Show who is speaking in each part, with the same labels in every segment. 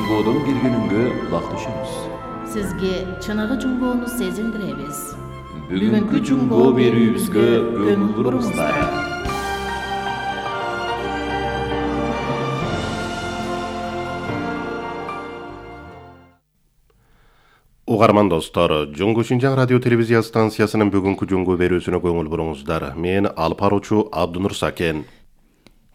Speaker 1: Жуңгоодон киргенинге улакташабыз.
Speaker 2: Сизге чыныгы жуңгоону сезилдиребиз.
Speaker 1: Бүгүнкү жуңгоо берүүбүзгө көңүл буруңуздар.
Speaker 3: Угарман достор, Жуңгу Шинжаң радио телевизия станциясынын бүгүнкү жуңгу берүүсүнө көңүл буруңуздар. Мен алып баруучу Абдунур Сакен.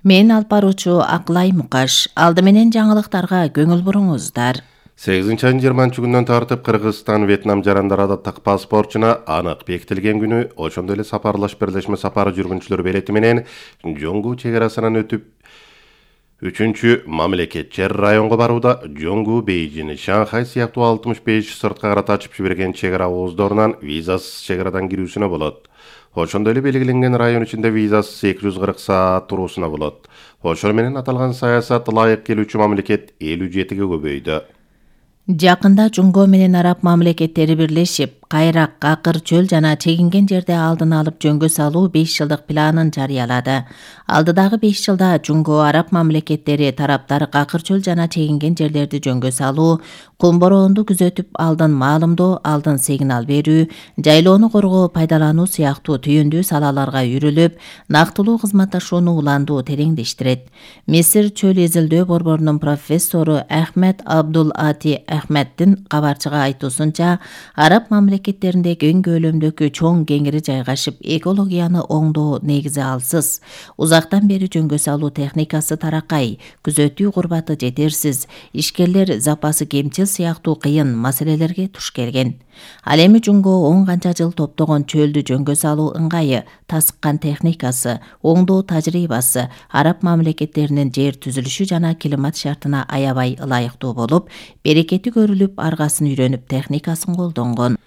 Speaker 2: Мен алып баруучу Акылай Мукаш. Алды менен жаңылыктарга көңүл буруңуздар.
Speaker 3: 8-20 күндөн тартып Кыргызстан, Вьетнам жарандарына паспортчуна анык бекитилген күнү, ошондой эле сапарлаш бирлешме сапары жүргүнчүлөр билети менен Жуңгу чек арасынан өтүп 3-чү мамлекетчер районго барууда Жуңгу, Бейжин, Шанхай сыяктуу 65 сыртка карата ачып жиберген чек ара ооздорунан визасыз чек арадан кирүүсүнө болот. Ошондой эле белгиленген район ичинде визасыз 240 саат туруусуна болот. Ошол менен аталган саясат ылайык келүүчү мамлекет 57-ге көбөйдү.
Speaker 2: Жакында Жуңго менен араб мамлекеттери бирлешип, кайрак, акыр, чөл жана чегинген жерде алдын алып жөнгө салуу 5 жылдык планын жарыялады. Алдыдагы 5 жылда Жуңго, араб мамлекеттери тараптар акыр, чөл жана чегинген жерлерди жөнгө салуу, кум бороонду күзөтүп алдын маалымдоо, алдын сигнал берүү, жайлоону коргоо, пайдалануу сыяктуу түйүндүү салаларга үйрүлүп, нактылуу кызматташууну уландуу тереңдештирет. Мисир чөл изилдөө борборунун профессору Ахмед Абдул Ати Ахмеддин кабарчыга айтуусунча, араб мамлекеттеринде кең көлөмдөгү чоң кеңири жайгашып, экологияны оңдоо негизи алсыз. Узактан бери жөнгө салуу техникасы таракай, күзөтүү курбаты жетерсиз, ишкерлер запасы кемчил сыяктуу кыйын маселелерге туш келген. Ал эми Жуңго 10 канча жыл топтогон чөлдү жөнгө салуу ыңгайы, тасыккан техникасы, оңдоо тажрыйбасы араб мамлекеттеринин жер түзүлүшү жана климат шартына аябай ылайыктуу болуп, берекети көрүлүп, аргасын үйрөнүп техникасын колдонгон.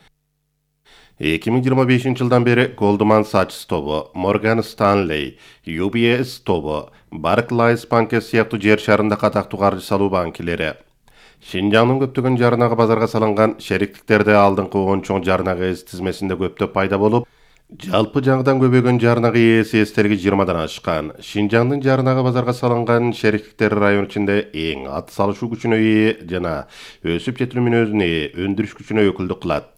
Speaker 3: 2025 жылдан бери Goldman Sachs тобу, Morgan Stanley, UBS тобу, Barclays банкы сыяктуу жер шарында катактуу каржы салуу банкилери Шинжаңдын көптөгөн жарнага базарга салынган шериктиктерде алдыңкы 10 чоң жарнага эс тизмесинде көптөп пайда болуп, жалпы жаңыдан көбөйгөн жарнага ээси эстерги 20дан ашкан. Шинжаңдын жарнага базарга салынган шериктиктери район ичинде эң ат салышуу күчүнө ээ жана өсүп жетилүү мүнөзүнө ээ өндүрүш күчүнө өкүлдүк кылат.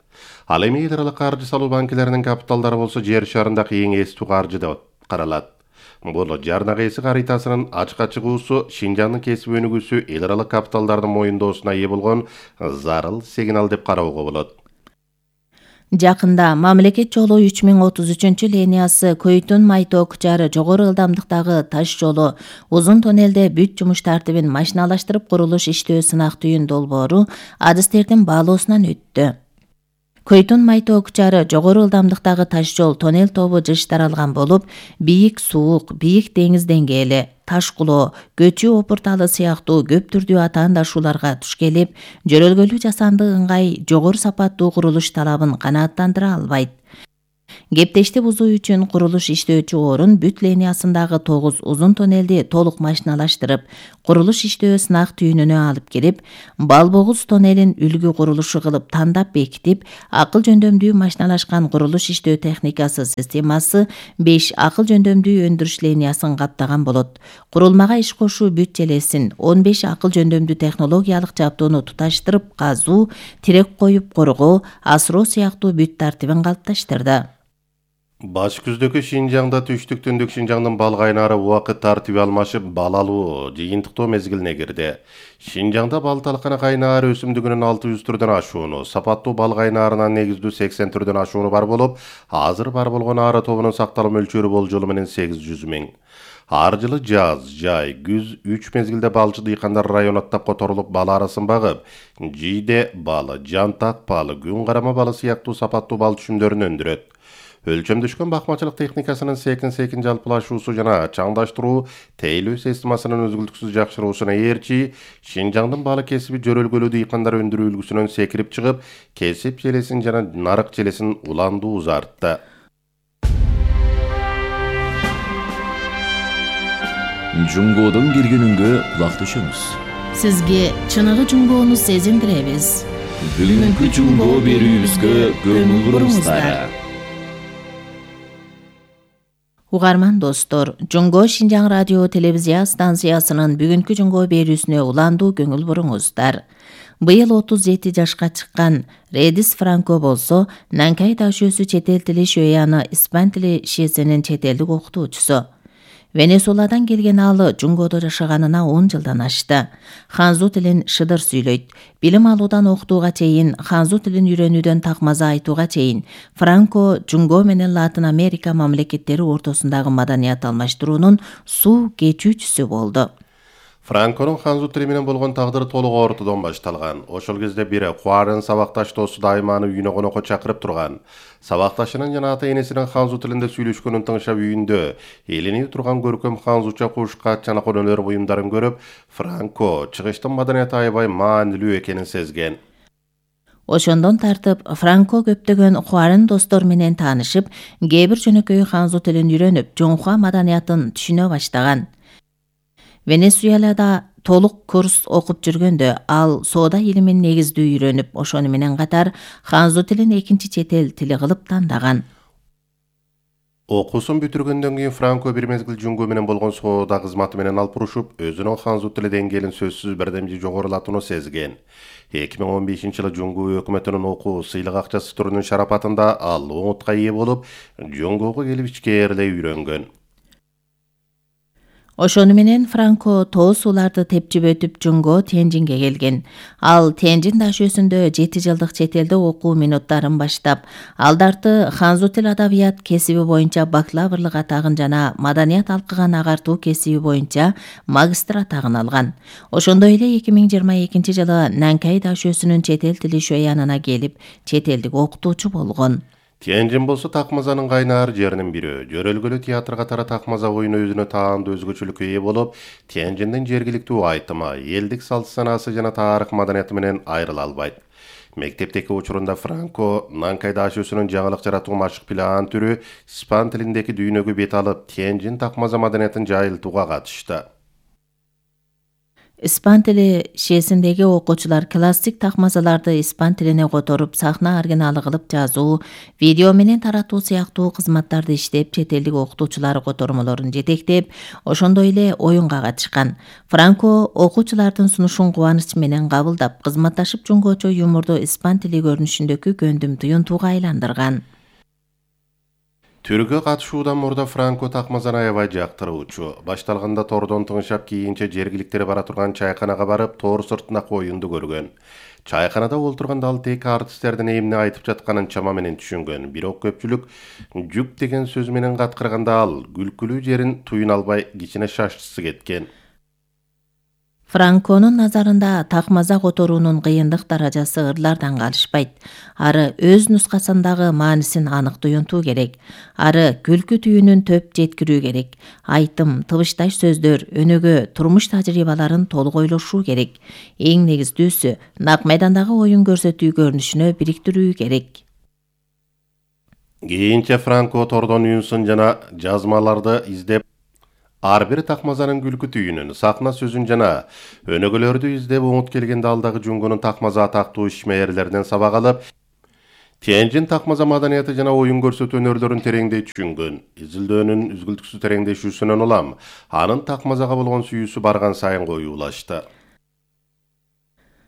Speaker 3: Ал эми эл аралык каржы салуу банкилеринин капиталдары болсо жер шарындагы эң эстүү каржы деп каралат. Бул жарнага эси карытасынын ачыкка чыгуусу Шинжаңдын кесип өнүгүүсү эл аралык капиталдардын моюндоосуна ээ болгон зарыл сигнал деп кароого болот.
Speaker 2: Жакында мамлекет жолу 3033 линиясы Көйтүн-Майток-Жары жогору ылдамдыктагы таш жолу узун тоннелде бүт жумуш тартибин машиналаштырып курулуш иштөө сынак түйүн долбоору адистердин баалоосунан өттү. Көйтүн-Майток-Жары жогору ылдамдыктагы таш жол тоннел тобу жыш таралган болуп, бийик суук, бийик деңиз деңгээли, таш кулоо, көчүү опурталы сыяктуу көп түрдүү атаандашууларга туш келип, жөрөлгөлүү жасанды ыңгай жогору сапаттуу курулуш талабын канааттандыра албайт. Кептешти бузуу үчүн курулуш иштөөчү орун бүт линиясындагы 9 узун тоннелди толук машиналаштырып, курулуш иштөө сынак түйүнүнө алып келип, Балбогуз тоннелин үлгү курулушу кылып тандап бекитип, акыл жөндөмдүү машиналашкан курулуш иштөө техникасы системасы 5 акыл жөндөмдүү өндүрүш линиясын каптаган болот. Курулмага иш кошуу бүт желесин 15 акыл жөндөмдүү технологиялык жабдууну туташтырып, казуу, тирек коюп коргоо, асыроо сыяктуу бүт тартибин калыпташтырды.
Speaker 3: Баш күздөгү Шинжаңда түштүк-түндүк Шинжаңдын бал кайнары убакыт тартиби алмашып, бал алуу, жыйынтыктоо мезгилине кирди. Шинжаңда бал талканы кайнары өсүмдүгүнүн 600 түрдөн ашууну, сапаттуу бал кайнарынан негиздүү 80 түрдөн ашууну бар болуп, азыр бар болгон ары тобунун сакталуу мөлчөрү болжолу менен 800 000. Ар жылы жаз, жай, күз 3 мезгилде балчы дыйкандар район аттап которулуп бал арасын багып, жийде балы, жантак балы, күн карама балы сыяктуу сапаттуу бал түшүмдөрүн өндүрөт. Өлчөмдөшкөн бакмачылык техникасынын секин жалпылашуусу жана чаңдаштыруу тейлөө системасынын үзгүлтүксүз жакшыруусуна ээрчи, Шинжаңдын балы кесиби жөрөлгөлүү дыйкандар өндүрүү үлгүсүнөн секирип чыгып, кесип желесин жана нарык желесин уландуу узартты.
Speaker 1: Жуңгоодон киргенинге улакташабыз.
Speaker 2: Сизге чыныгы жуңгоону сезилдиребиз.
Speaker 1: Бүгүнкү жуңгоо берүүбүзгө көңүл буруңуздар.
Speaker 2: Угарман достор, Жунго Шинжаң радио телевизия станциясынын бүгүнкү Жунго берүүсүнө уландуу көңүл буруңуздар. Быйыл 37 жашка чыккан Редис Франко болсо, Нанкай Дашөсү чет эл тили шөяны испан тили шиесинин чет элдик окутуучусу. Венесуэладан келген ал Жунгодо жашаганына 10 жылдан ашты. Ханзу тилин шыдыр сүйлөйт. Билим алуудан окутууга чейин, ханзу тилин үйрөнүүдөн такмаза айтууга чейин Франко Жунго менен Латын Америка мамлекеттери ортосундагы маданият алмаштыруунун суу кечүүчүсү болду.
Speaker 3: Франконун ханзу тили менен болгон тагдыры толук ортодон башталган. Ошол кезде бири Куарын сабакташ досу дайыма аны үйүнө конокко чакырып турган. Сабакташынын жана ата энесинин ханзу тилинде сүйлөшкөнүн тыңшап үйүндө элинип турган көркөм ханзуча кушкат жана өнөр буюмдарын көрүп, Франко чыгыштын маданияты аябай маанилүү экенин сезген.
Speaker 2: Ошондон тартып, Франко көптөгөн Куарын достор менен таанышып, кээ бир жөнөкөй ханзу тилин үйрөнүп, Жоңхуа маданиятын түшүнө баштаган. Венесуэлада толук курс окуп жүргөндө ал соода илимин негиздүү үйрөнүп, ошону менен катар ханзу тилин экинчи чет эл тили кылып тандаган.
Speaker 3: Окуусун бүтүргөндөн кийин Франко бир мезгил Жунго менен болгон соода кызматы менен алып урушуп, өзүнүн ханзу тили деңгээлин сөзсүз бирдемжи жогорулатууну сезген. 2015-жылы Жунго өкмөтүнүн окуу сыйлык акчасы түрүнүн шарапатында ал оңутка ээ болуп, Жунгого келип ичкээрлей үйрөнгөн.
Speaker 2: Ошону менен Франко тоо сууларды тепчип өтүп Жунго Тяньжинге келген. Ал Тяньжин дашөсүндө 7 жылдык чет элде окуу минуттарын баштап, алдарты ханзу тил адабият кесиби боюнча бакалаврлык атагын жана маданият алкыган агартуу кесиби боюнча магистр атагын алган. Ошондой эле 2022-жылы Нанкай дашөсүнүн чет эл тили шөянына келип, чет элдик окутуучу болгон.
Speaker 3: Тяньжин болсо такмазанын кайнаар жеринин бири. Жөрөлгөлүү театр катары такмаза оюну өзүнө таандуу өзгөчөлүккө ээ болуп, Тяньжиндин жергиликтүү айтымы, элдик салт санаасы жана тарых маданияты менен айрыла албайт. Мектептеки учурунда Франко Нанкай дашөсүнүн жаңылык жаратуу машык план түрү испан тилиндеги дүйнөгө бет алып, Тяньжин такмаза маданиятын жайылтууга катышты.
Speaker 2: Испан тили шиесиндеги окуучулар классик такмазаларды испан тилине которуп, сахна оригиналы кылып жазуу, видео менен таратуу сыяктуу кызматтарды иштеп, чет элдик окутуучулар котормолорун жетектеп, ошондой эле оюнга катышкан. Франко окуучулардын сунушун кубаныч менен кабылдап, кызматташып Жунгочо юморду испан тили көрүнүшүндөгү көндүм туюнтууга айландырган.
Speaker 3: Түргө катышуудан мурда Франко такмазаны аябай жактыруучу. Башталганда тордон тыңшап, кийинче жергиликтер бара турган чайканага барып, тор сыртындагы оюнду көргөн. Чайканада олтурганда ал тек артисттердин эмне айтып жатканын чама менен түшүнгөн. Бирок көпчүлүк жүк деген сөз менен каткырганда ал күлкүлүү жерин туюна албай кичине шашчысы кеткен.
Speaker 2: Франконун назарында такмаза которуунун кыйындык даражасы ырлардан калышпайт. Ары өз нускасындагы маанисин анык туюнтуу керек. Ары күлкү түйүнүн төп жеткирүү керек. Айтым, тыбышташ сөздөр, өнөгө турмуш тажрыйбаларын толук ойлошуу керек. Эң негиздүүсү, нак майдандагы оюн көрсөтүү көрүнүшүнө бириктирүү керек.
Speaker 3: Кийинче Франко тордон үн жана жазмаларды издеп, ар бир такмазанын күлкү түйүнүн, сахна сөзүн жана өнөгөлөрдү издеп оңут келгенде алдагы Жунгонун такмаза атактуу ишмээрлеринен сабак алып, Тяньжин такмаза маданияты жана оюн көрсөтүү өнөрлөрүн тереңдей түшүнгөн. Изилдөөнүн үзгүлтүксүз тереңдешүүсүнөн улам, анын такмазага болгон сүйүүсү барган сайын коюулашты.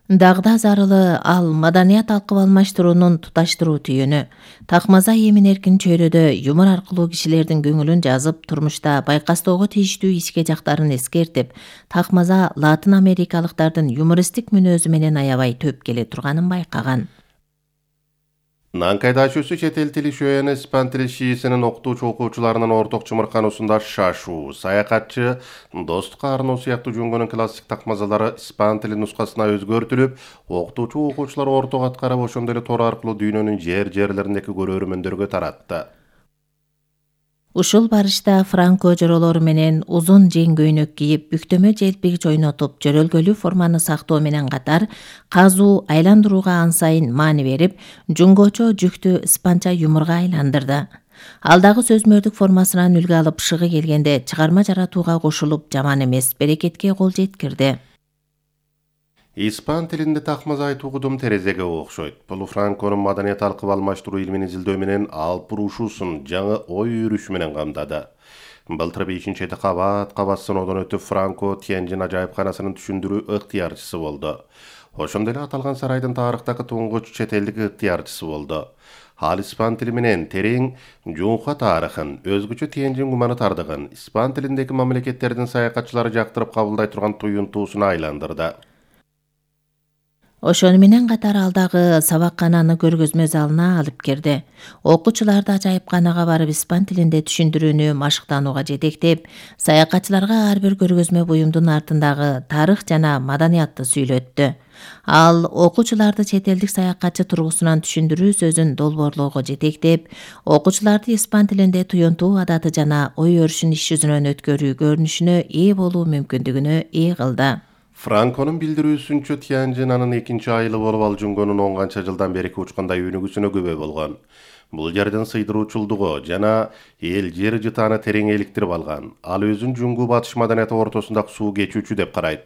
Speaker 2: Дагда зарылы ал маданият алкып алмаштыруунун туташтыруу түйүнү. Такмаза эмин эркин чөйрөдө юмор аркылуу кишилердин көңүлүн жазып, турмушта байкастоого тийиштүү ичке жактарын эскертип, такмаза Латын Америкалыктардын юмористик мүнөзү менен аябай төп келе турганын байкаган.
Speaker 3: Нанкай дашөсү чет эл тили шөяны испан тили шиесинин окутуучу окуучуларынын орток чымыркануусунда шашуу, саякатчы, достукка арноо сыяктуу Жунгонун классик такмазалары испан тили нускасына өзгөртүлүп, окутуучу окуучулар орток аткарып, ошондой эле тор аркылуу дүйнөнүн жерлериндеги көрөрмөндөргө таратты.
Speaker 2: Ушул барышта Франко жоролору менен узун жең көйнөк кийип, бүктөмө желпигич ойнотуп, жөрөлгөлүү форманы сактоо менен катар, казуу, айландырууга ансайын маани берип, Жунгочо жүктү испанча юморго айландырды. Ал дагы сөзмөрдүк формасынан үлгү алып, шыгы келгенде чыгарма жаратууга кошулуп, жаман эмес берекетке кол жеткирди.
Speaker 3: Испан тилинде такмаз айтуу кудум терезеге окшойт. Бул Франконун маданият алкып алмаштыруу илмин изилдөө менен алып буруушуусун жаңы ой өрүшү менен камдады. Былтыр 5-эти кабат сыноодон өтүп Франко Тяньжин ажайыпканасынын түшүндүрүү ыктыярчысы болду. Ошондой эле аталган сарайдын тарыхтагы туңгуч чет элдик ыктыярчысы болду. Ал испан тили менен терең Жунха тарыхын, өзгөчө Тяньжин гуманитардыгын, испан тилиндеги мамлекеттердин саякатчылары жактырып кабылдай турган туюнтуусуна айландырды.
Speaker 2: Ошону менен катар ал дагы сабаккананы көргөзмө залына алып кирди. Окуучуларды ажайыпканага барып испан тилинде түшүндүрүүнү машыктанууга жетектеп, саякатчыларга ар бир көргөзмө буюмдун артындагы тарых жана маданиятты сүйлөттү. Ал окуучуларды чет элдик саякатчы тургусунан түшүндүрүү сөзүн долбоорлоого жетектеп, окуучуларды испан тилинде туюнтуу адаты жана ой өрүшүн иш жүзүнөн өткөрүү көрүнүшүнө ээ болуу мүмкүндүгүнө ээ кылды.
Speaker 3: Франконун билдирүүсүнчө Тяньжин анын экинчи айылы болуп ал Жунгонун 10 канча жылдан берки учкандай өнүгүүсүнө күбө болгон. Бул жердин сыйдыруучулдугу жана эл жер жытааны терең эликтирип алган. Ал өзүн Жунгу батыш маданияты ортосундагы суу кечүүчү деп карайт.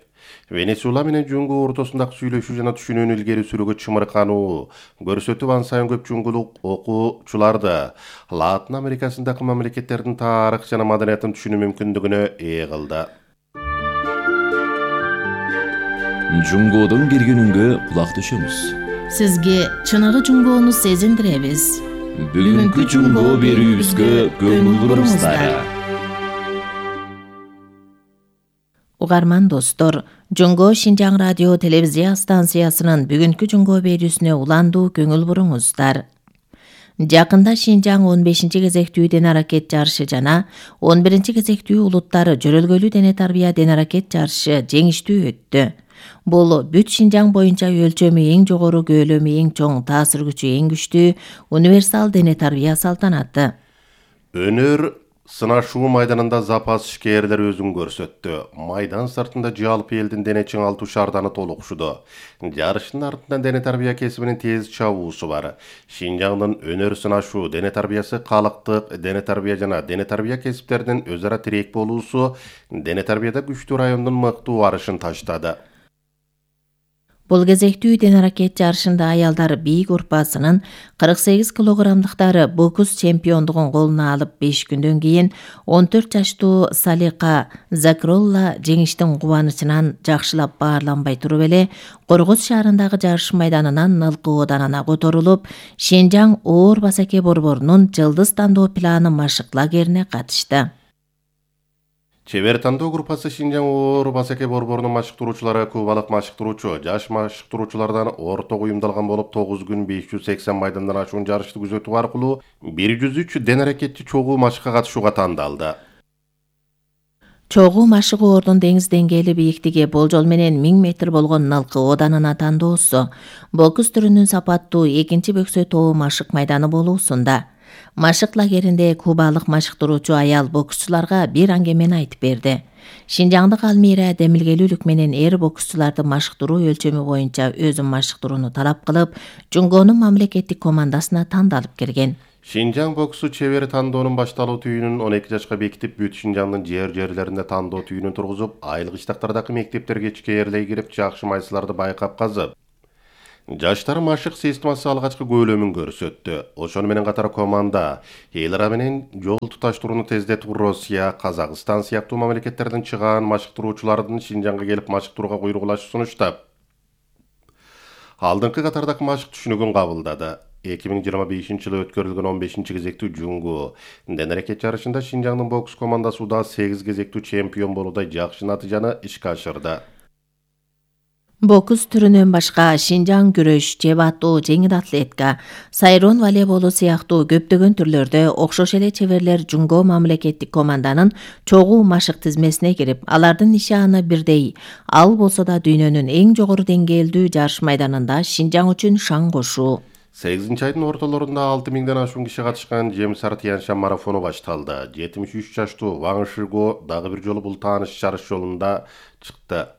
Speaker 3: Венесуэла менен Жунгу ортосундагы сүйлөшүү жана түшүнүүнү илгери сүрүүгө чымыркануу көрсөтүп, ан сайын көп жунгулук окуучуларды Латын Америкасындагы мамлекеттердин тарых жана маданиятын түшүнүү мүмкүндүгүнө ээ кылды.
Speaker 1: Жунгодун киргенүнгө кулак түшөмүз.
Speaker 2: Сизге чыныгы Жунгоону сезиндиребиз.
Speaker 1: Бүгүнкү Жунго берүүбүзгө көңүл буруңуздар.
Speaker 2: Угарман достор, Жунго Шинжаң радио телевизия станциясынын бүгүнкү Жунго берүүсүнө уландуу көңүл буруңуздар. Жакында Шинжаң 15-чи кезектүү дене аракет жарышы жана 11-чи кезектүү улуттар жөрөлгөлүү дене тарбия дене аракет жарышы жеңиштүү өттү. Бул бүт Шинжаң боюнча өлчөмү эң жогору, көөлөмү эң чоң, таасир күчү эң күчтүү универсал дене тарбия салтанаты.
Speaker 3: Өнөр сынашуу майданында запас ишкерлер өзүн көрсөттү. Майдан сыртында жалпы элдин дене чыңалтуу шаарданы толукшуду. Жарыштын артынан дене тарбия кесибинин тез чабуусу бар. Шинжаңдын өнөр сынашуу дене тарбиясы, калыктык дене тарбия жана дене тарбия кесиптеринин өз ара тирек болуусу дене тарбияда күчтүү райондун мыктуу арышын таштады.
Speaker 2: Бул кезектүү дене аракет жарышында аялдар бийик урпасынын 48 килограммдыктары бокс чемпиондугун колуна алып 5 күндөн кийин 14 жаштуу Салика Закролла жеңиштин кубанычынан жакшылап баарланбай туруп эле Коргоз шаарындагы жарыш майданынан ылкы оданына которулуп, Шинжаң оор басаке борборунун жылдыз тандоо планы машык лагерине катышты.
Speaker 3: Чебер тандоо группасы Шинжаң оор басаке борборунун машыктыруучулары кубалык машыктыруучу, жаш машыктыруучулардан орток уюмдалган болуп 9 күн 580 майдандан ашуун жарышты күзөтүү аркылуу 103 дене аракетчи чогуу машыкка катышууга тандалды.
Speaker 2: Чогуу машык ордун деңиз деңгээли бийиктиги болжол менен 1000 метр болгон ылкы оданына тандоосу, бокс түрүнүн сапаттуу экинчи бөксө тоо машык майданы болуусунда. Машык лагеринде кубалык машыктыруучу аял боксчуларга бир аңгемени айтып берди. Шинжаңдык Алмира демилгелүүлүк менен эр боксчуларды машыктыруу өлчөмү боюнча өзүн машыктырууну талап кылып, Жунгонун мамлекеттик командасына тандалып кирген.
Speaker 3: Шинжаң боксу чебер тандоонун башталуу түйүнүн 12 жашка бекитип, бүт Шинжаңдын жерлеринде тандоо түйүнүн тургузуп, айыл кыштактардагы мектептерге ичкээрлей кирип, жакшы майсыларды байкап казып, жаштар машык системасы алгачкы көөлөмүн көрсөттү. Ошону менен катар команда Элра менен жол туташтырууну тездетип, Россия, Казакстан сыяктуу мамлекеттерден чыгаан машыктыруучулардын Шинжаңга келип машыктырууга куйругулашы сунуштап, алдыңкы катардагы машык түшүнүгүн кабылдады. 2025-жылы өткөрүлгөн 15-чи кезектүү Жунгу дене аракет жарышында Шинжаңдын бокс командасы да 8 кезектүү чемпион болуудай жакшы натыйжаны ишке ашырды.
Speaker 2: Бокс түрүнөн башка Шинжаң күрөш, жеп атуу, жеңил атлетика, сайрон волейболу сыяктуу көптөгөн түрлөрдө окшош эле чеберлер Жунго мамлекеттик команданын чогуу машык тизмесине кирип, алардын нишаны бирдей. Ал болсо да дүйнөнүн эң жогору деңгээлдүү жарыш майданында Шинжаң үчүн шаң кошуу.
Speaker 3: 8 айдын ортолорунда 6000ден ашуун киши катышкан Жемсар Тяньшан марафону башталды. 73 жаштуу Ван Шиго дагы бир жолу бул тааныш жарыш жолунда чыкты.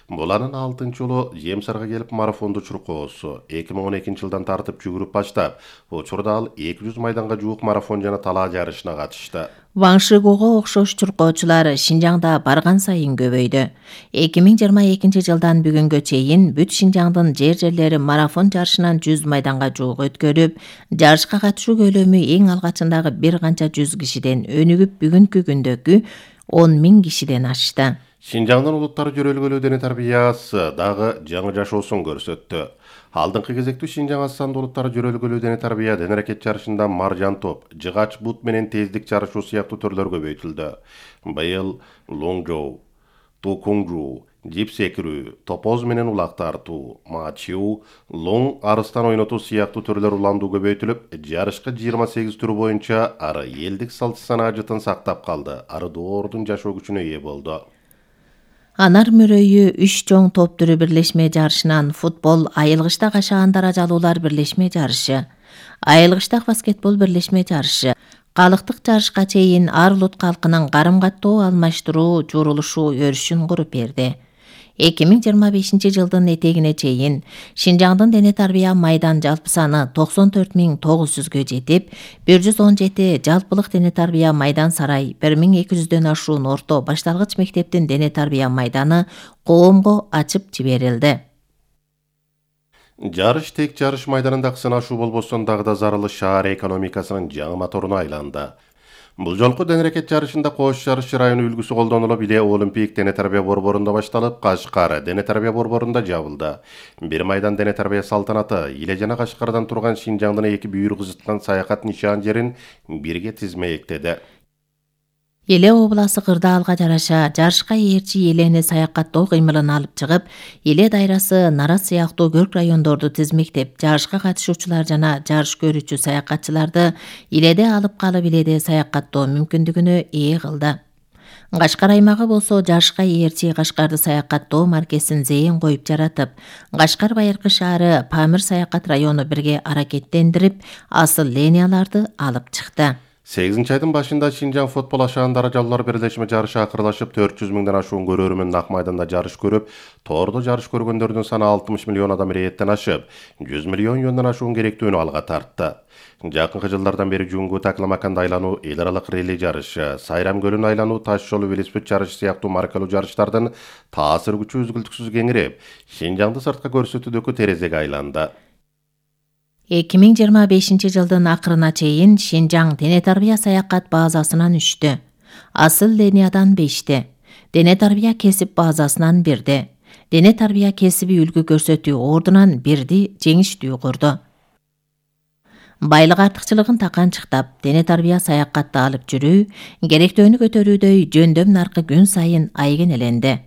Speaker 3: Бул анын 6-жолу Жемсарга келип марафонду чуркоосу. 2012-жылдан тартып жүгүрүп баштап, учурда ал 200 майданга жуук марафон жана талаа жарышына катышты.
Speaker 2: Ван Шигуга окшош чуркоочулар Шинжаңда барган сайын көбөйдү. 2022 жылдан бүгүнгө чейин бүт Шинжаңдын жерлери марафон жарышынан 100 майданга жуук өткөрүп, жарышка катышуу көлөмү эң алгачындагы бир канча 100 кишиден өнүгүп бүгүнкү күндөгү 10 000 кишиден ашты.
Speaker 3: Шинжаңдын улуттар жөрөлгөлүү дене тарбиясы дагы жаңы жашоосун көрсөттү. Алдыңкы кезектүү Шинжаң аз сандуу улуттар жөрөлгөлүү дене тарбия дене аракет жарышында маржан топ, жыгач бут менен тездик жарышуу сыяктуу түрлөр көбөйтүлдү. Быйыл лонгжоу, тукуңжу, жип секирүү, топоз менен улак тартуу, мачуу, лоң арыстан ойнотуу сыяктуу түрлөр уландуу көбөйтүлүп, жарышка 28 түрү боюнча ары элдик салт санаа жытын сактап калды. Ары доордун жашоо күчүнө ээ болду.
Speaker 2: Анар мөрөйү 3 чоң топ түрү бирлешме жарышынан футбол, айылгычтак ашаан даражалуулар бирлешме жарышы, айылгычтак баскетбол бирлешме жарышы, калктык жарышка чейин ар улут калкынын карым-каттоо алмаштыруу журулушу өрүшүн куруп берди. 2025 жылдын этегине чейин Шинжаңдын дене тарбия майдан жалпы саны 94 900гө жетип, 117 жалпылык дене тарбия майдан сарай, 1200дөн ашуун орто башталгыч мектептин дене тарбия майданы коомго ачып жиберилди.
Speaker 3: Жарыш тек жарыш майданындагы сынашуу болбостон дагы да зарылы шаар экономикасынын жаңы моторуна айланды. Бул жолку дене аракет жарышында Кош жарышы району үлгүсү колдонулуп, Иле Олимпик дене тарбия борборунда башталып, Кашкар дене тарбия борборунда жабылды. Бир майдан дене тарбия салтанаты Иле жана Кашкардан турган Шинжаңдын эки бүйүр кызыткан саякат нишан жерин бирге тизмектеди.
Speaker 2: Иле обласы кырдаалга жараша жарышка ээрчи Илени саякаттоо кыймылын алып чыгып, Иле дайрасы, Нара сыяктуу көрк райондорду тизмектеп, жарышка катышуучулар жана жарыш көрүүчү саякатчыларды Иледе алып калып Иледе саякаттоо мүмкүндүгүнө ээ кылды. Кашкар аймагы болсо жарышка ээрчи Кашкарды саякаттоо маркесин зээн коюп жаратып, Кашкар байыркы шаары Памир саякат району бирге аракеттендирип, асыл линияларды алып чыкты.
Speaker 3: 8-айдын башында Шинжаң футбол ашаан даражалуулар бирлешме жарышы акырлашып, 400 000ден ашуун көрөрмөн ак майданда жарыш көрүп, тоордо жарыш көргөндөрдүн саны 60 миллион адам ирээттен ашып, 100 миллион юандан ашуун керектүүнү алга тартты. Жакынкы жылдардан бери Жунгу Такламаканда айлануу, эл аралык релли жарышы, Сайрам көлүн айлануу, таш жолу велосипед жарышы сыяктуу маркалуу жарыштардын таасир күчү үзгүлтүксүз кеңирип, Шинжаңды сыртка көрсөтүүдөгү терезеге айланды.
Speaker 2: 2025 жылдын акырына чейин Шинжаң дене тарбия саякат базасынан 3тө, асыл линиядан 5тө, дене тарбия кесип базасынан 1де, дене тарбия кесиби үлгү көрсөтүү ордунан 1ди жеңиштүү курду. Байлык артыкчылыгын таканчыктап, дене тарбия саякатты алып жүрүү, керектөөнү көтөрүүдөй жөндөм наркы күн сайын айгенеленди.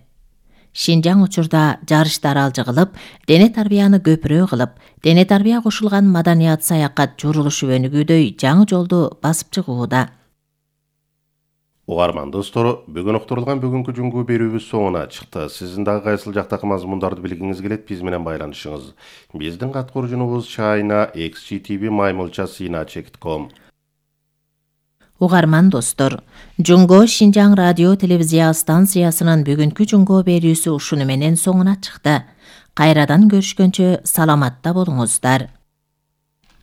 Speaker 2: Шинжаң учурда жарыштар алжы кылып, дене тарбияны көпүрө кылып, дене тарбия кошулган маданият саякат журулушу өнүгүүдөй жаңы жолду басып чыгууда.
Speaker 3: Угарман достор, бүгүн уктурулган бүгүнкү Жунгу берүүбүз соңуна чыкты. Сиздин дагы кайсыл жактагы мазмундарды билгиңиз келет, биз менен байланышыңыз. Биздин каткуруучубуз China XGTV @cina.com.
Speaker 2: Угарман достор, Жунго Шинжаң радио телевизия станциясынын бүгүнкү Жунго берүүсү ушуну менен соңуна чыкты. Кайрадан көрүшкөнчө саламатта болуңуздар.